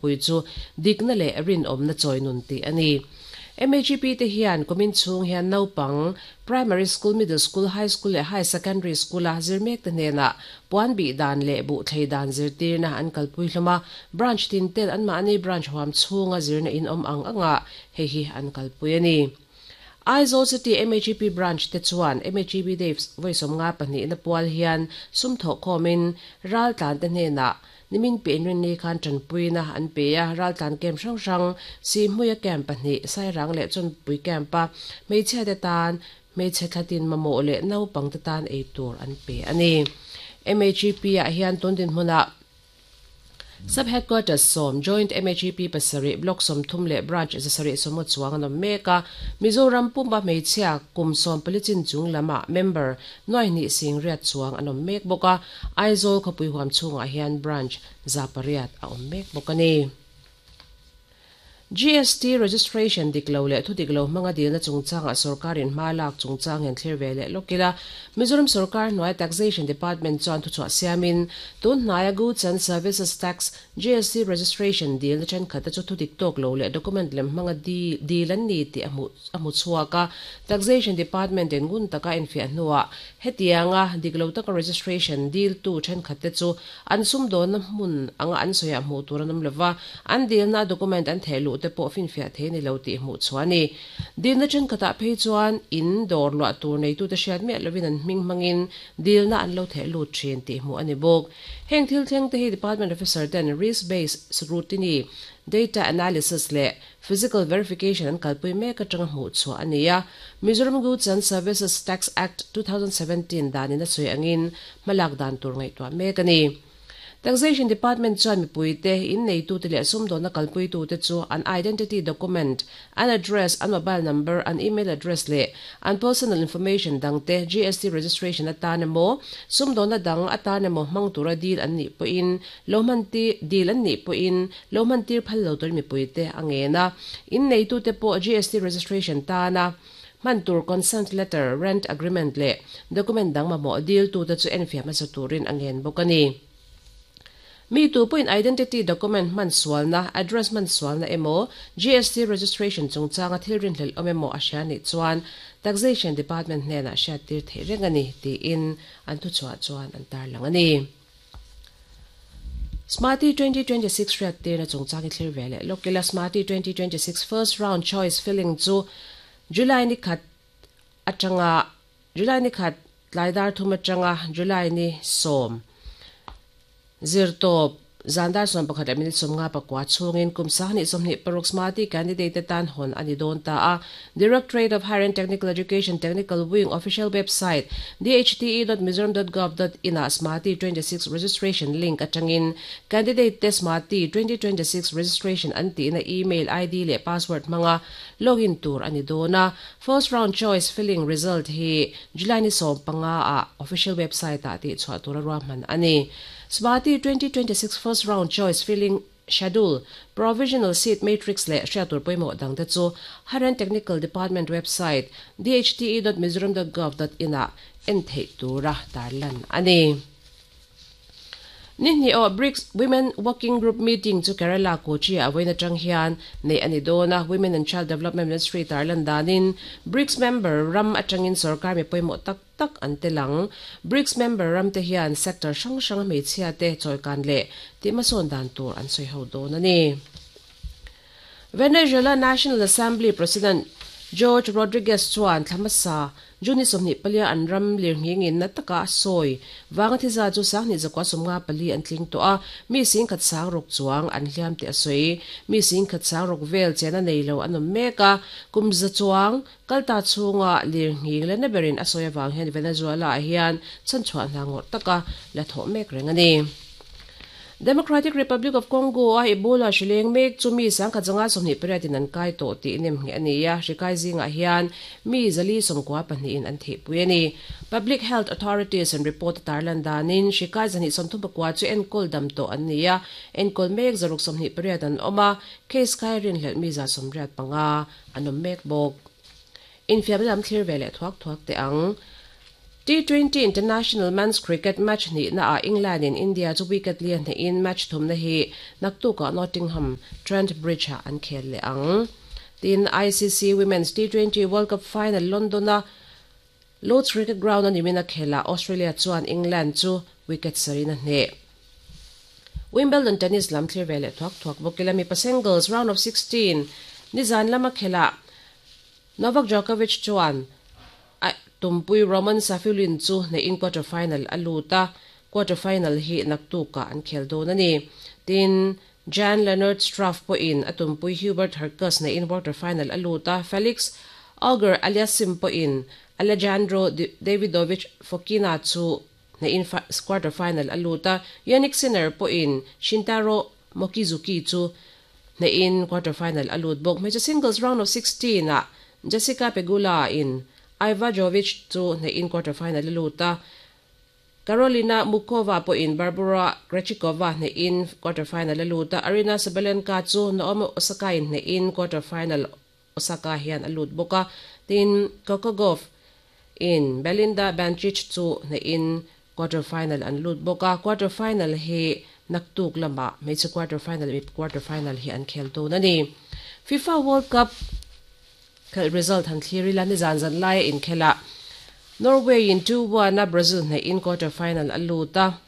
Pui chu dikna leh rinawmna chawi nun tih a ni. MHEP te hian kumin chhung hian naupang, Primary School, Middle School, High School leh High Secondary School-a zir mek te hnenah puan bih dan leh buh thlei dan zirtirna an kalpui hlawm a, branch tin ten anmahni branch huam chhunga zirna in awm ang angah hei hi an kalpui a ni. Aizawl City MHEP Branch te chuan MHEP Day vawi 52 na pual hian sum thawhkhawmin raltlan te hnenah Nimin piahnrinni khan tanpuina an pe a, raltlan camp hrang hrang, Sihhmuia camp pahnih, Sairang leh Chawnpui camp-a hmeichhiate tan hmeichhe thlatin mamawh leh naupangte tan ei tur an pe a ni. MHEP-ah hian tun dinhmunah Sub Headquarters sawm, Joint MHEP pasarih, Block 30 leh Branch 750 chuang an awm mek a. Mizoram pumpa hmeichhia kum 14 chin chung lamah member nuaihnih 8000 chuang an awm mek bawk a. Aizawl khawpui huam chhungah hian Branch 800 a awm mek bawk a ni. GST registration dik lo leh thu dik lo hmanga dilna chungchangah sorkarin hma lak chungchang hian thlir ve leh lawk ila. Mizoram sorkar hnuai Taxation Department chuan thuchhuah siamin tun hnaia Goods and Services Tax, GST, registration dilna thenkhatte chu thu dik tawk lo leh document lem hmanga dil an ni tih a hmuh a hmu chhuak a. Taxation Department in ngun taka enfiah hnuah hetianga dik lo taka registration diltu thenkhatte chu an sumdawnna hmun anga an sawiah hmuh tur an awm lova, an dilna a document an theh luh te pawh finfiah thei a ni lo tih hmuh chhuah a ni. Dilna thenkhatah phei chuan in dawr luah tur neitute hriat miah lovin an hming hmangin dilna an lo theh lut thin tih hmuh a ni bawk. Heng thil thleng te hi Department officer ten risk based scrutiny, data analysis leh Physical verification an kalpui mek atanga hmuh chhuah a ni a. Mizoram Goods and Services Tax Act, 2017 danin a sawi angin hmalak dan tur ngaihtuah mek a ni. Taxation Department chuan mipuite, inneitute leh sumdawnna kalpuitute chu an identity document, an address, an mobile number, an email address leh an personal information dangte GST registration atan emaw, sumdawnna dang atan emaw hmang tura dil an nih pawhin lo hman dil an nih pawhin Lo hmantir phal lo tur mipuite a ngen a, inneitute pawh GST registration tana hman tur consent letter, rent agreement leh document dang mamawh diltute chu enfiah hmasa turin a ngen bawk a ni. Mi tu pawhin identity document hman sualna, address hman sualna emaw, GST registration chungchanga thil rinhlelh awm emaw a hria nih chuan Taxation Department hnenah hriattir theih reng a ni, tiin an thuchhuah chuan an tarlang a ni. Smarty 2026 hriattirna chungchang i thlir ve leh lawk ila. Smarty 2026 first round choice filling chu July ni khat atanga July ni khat tlai dar thum atanga July ni 10 zirtawp zan dar 11 leh minute 59 chhungin kum 2026 Smarty candidate te tan hawn a ni dawn ta a. Directorate of Higher and Technical Education Technical Wing official website dhte.mizoram.gov.in ah Smarty 26 registration link atangin candidate te Smarty 2026 registration an tihna email ID leh password hmanga login tur a ni dawn a. First round choice filling result hi July ni 15 ah official website ah tihchhuah tura ruahman a ni. Smarty 2026 first round choice filling Schedule, Provisional Seat Matrix leh hriat tur pawimawh dangte chu Higher and Technical Department website dhte.mizoram.gov.in ah en theih tura tarlan a ni. Ni hnih aw BRICS Women Working Group Meeting chu Kerala Kochi ah vawiin atang hian neih a ni dawn a, Women and Child Development Ministry tarlan danin BRICS member ram atangin sorkar mi pawimawh tak tak an tel ang. BRICS member ramte hian sector hrang hranga hmeichhiate chawikan leh tihhmasawn dan tur an sawi ho dawn a ni. Venezuela National Assembly President Jorge Rodriguez chuan thla hmasa June 24 an ram lirnghingin na taka a sawi vanga thiza chu 2194 an tling tawh a, mi 1600 chuang an hliam tih a sawi. Mi 1600 vel chena nei lo an awm mek a, kum za chuang Kalta chhunga lirnghing leh na berin a sawi avang hian Venezuela-ah hian chhanchhuah hna ngawrh taka la thawh mek reng a ni. Democratic Republic of Congo-a Ebola hri leng mek chu mi 1128 in an kai tawh tih nemngheh a ni a, hri kai zingah hian mi 494 in an thihpui a ni. Public health authorities an report a tarlan danin hri kai 239 chu enkawl dam tawh an ni a, enkawl mek 628 an awm a, case kai rinhlelh mi 185 An awm mek bawk. Infiamna lam thlir ve leh thuak thuak teh ang. T20 International Men's Cricket match hnihna ah England in India chu wicket li a hnehin match thumna hi naktukah Nottingham Trent Bridge ah an khel leh ang. Tin, ICC Women's T20 World Cup final London a Lord's Cricket Ground a nimin a khelah Australia chuan England chu wicket sarin a hneh. Wimbledon tennis lam thlir ve leh thuak thuak bawk ila mipa singles round of 16 nizan lama khelah Novak Djokovic chuan a tumpui Roman Safiullin chu hnehin quarter final a lut a, quarter final hi naktukah an khel dawn a ni. Tin, Jan Lennard Struff pawhin a tumpui Hubert Hurkacz hnehin quarter final a lut a, Felix Auger-Aliassime pawhin Alejandro Davidovich Fokina chu hnehin quarter final a lut a, Jannik Sinner pawhin Shintaro Mochizuki chu hnehin quarter final a lut bawk. Hmeichhe singles round of 16 ah Jessica Pegula in Iva Jovic chu hnehin quarter final a lut a, Karolina Muchova pawhin Barbora Krejcikova hnehin quarter final a lut a, Aryna Sabalenka chu Naomi Osaka in hnehin quarter final Osaka hian a lut bawk a, tin Coco Gauff in Belinda Bencic chu hnehin quarter final an lut bawk a, quarter final hi naktuk lamah hmeichhe quarter final leh mipa quarter final hi an khel dawn a ni. FIFA World Cup khelh result han thlir ila nizan zan laia inkhelah Norway in 2-1 a Brazil hnehin quarter final a lut a,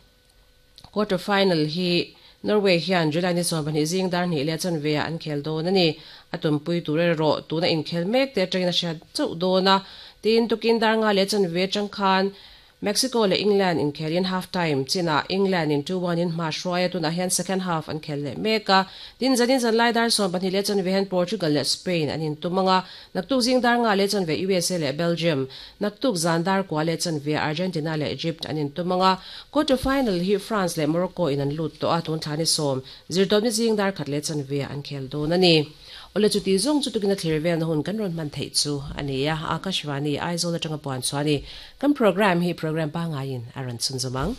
Quarter final hi Norway hian July ni 12 zing dar hnih leh chanve ah an khel dawn a ni. A tumpui tur erawh tuna inkhel mek te atangin a hriat chauh dawn a. Tin, tukin dar nga leh chanve atang khan Mexico leh England inkhelin half time chinah England in 2-1 in hma hruai a, tunah hian second half an khel leh mek a. Tin, zanin zanlai dar 12 leh chanve hian Portugal leh Spain an intum ang a. Naktuk zing dar nga leh chanve USA leh Belgium, naktuk zan dar kua leh chanve Argentina leh Egypt an intum ang a. Quarter final hi France leh Morocco in an lut tawh a, tun thla ni sawm, zirtawpni zing dar khat leh chanve an khel dawn a ni. Awle chuti zawng chu tukin a thlir velna hun kan rawn hman theih chu a ni a, Akashvani, Aizawl atanga puan chhuah a ni. Kan programme hi programme pangaiin a rawn chhunzawm ang.